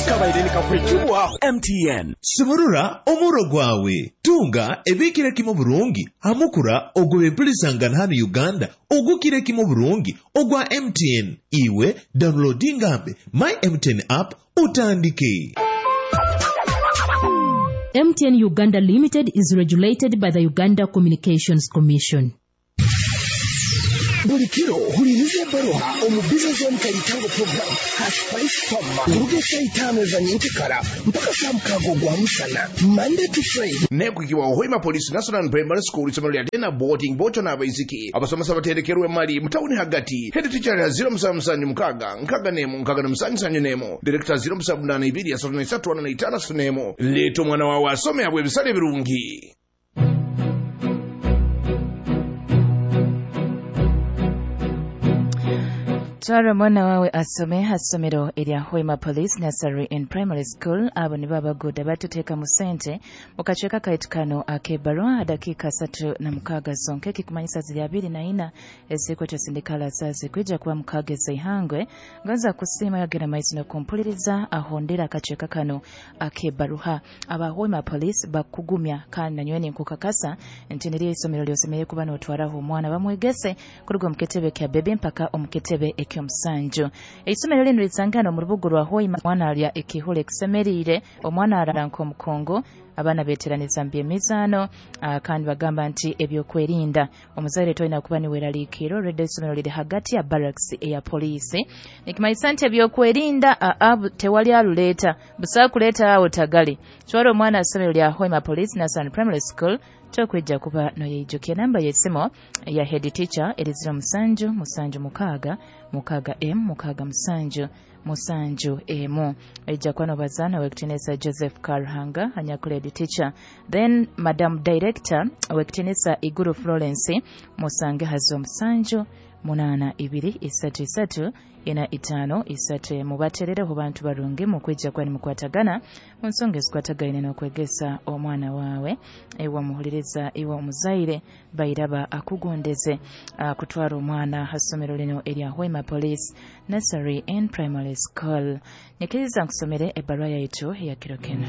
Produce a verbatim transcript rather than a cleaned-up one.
Kabaire nikakwekibwaho M T N. Sumurura omuro gwawe, tunga ebikire kimu burungi hamukura ogw'ebempulisangana hano Uganda ogukire kimu burungi ogwa M T N. Iwe downloadingambe My M T N app utandike. M T N Uganda Limited is regulated by the Uganda Communications Commission. Buli kiro huliriza ebbaluha omu Business Zone Kaitango program ha Spice Farm kuruga esaa itaano eza nyenkekara mpaka saa mukaaga ogwa musana, Monday to Friday. Nekukiwa Hoima Police National Primary School, isomero lya day na boarding, bocho n'abaisiki. Abasomesa baterekerwe mali mutawuni hagati. Head teacher ya zero musanvu musanvu mukaaga nkaaga nemu nkaaga na musanju sanju nemu, director zero musanvu munaana ibiri asatu na isatu ana na itaano asatu nemu. Leeta omwana wawe asome abwe ebisale ebirungi. Twara omwana wawe asome ha ssomero erya Hoima Police Nursery and Primary School. Abo nibo abaguuda batuteeka mu ssente mu kacweka kaitu kano ak'ebbarwa. Dakiika asatu na mukaaga zonka, ekikumanyisa ziri abiri na ina ezikwetwa sindikala zazi kwija kuba mukaaga ez'eihangwe. Ngonza kusiima yagenda maiso n'okumpuliriza ahondera akacweka kano ak'ebbaruha. Aba Hoima Police bakugumya kandi nanyowe ninkukakasa nti niryo isomero lyosemereire kuba n'otwaraho omwana bamwegese kuruga omu kitebe kya bebe mpaka omu kitebe eky'omusanju. Eisomero linu lisangana omu rubuga rwa Hoima. Omwana alya ekihula ekisemeriire, omwana arara nk'omukungu, abaana beteraniza mu by'emizaano, ah, kandi bagamba nti ebyokwerinda omuzaire tolina kuba niweraliikirira. Olwedde essomero liri hagati ya barracks eya poliisi, nikimanyisa nti ebyokwerinda aa tewali aluleeta busobola kuleeta awo tagali. Twala omwana assomero lya Hoima Police Nursery Primary School, tokwejja kuba noyeijukya. Namba y'essimu ya head teacher eri zero musanju musanju mukaaga mukaaga m mukaaga musanju musanju emu. Ejja kuba nobazaana Owekitinisa Joseph Karuhanga anyakula head teacher, then Madam Director Owekitinisa Iguru Florence musange hazo musanju munaana ibiri isatu isatu ina itaano isatu emu. Bateerereho bantu barungi mukwijja kuba nimukwatagana mu nsonga ezikwatagaine n'okwegesa omwana waawe. Iwe omuhuliriza, iwe omuzaire, bairaba akugondeze kutwara omwana ha ssomero lino erya Hoima Police Nursery and Primary School. Nyikiriza nkusomere ebbaluwa yaitu eya kiro kinu.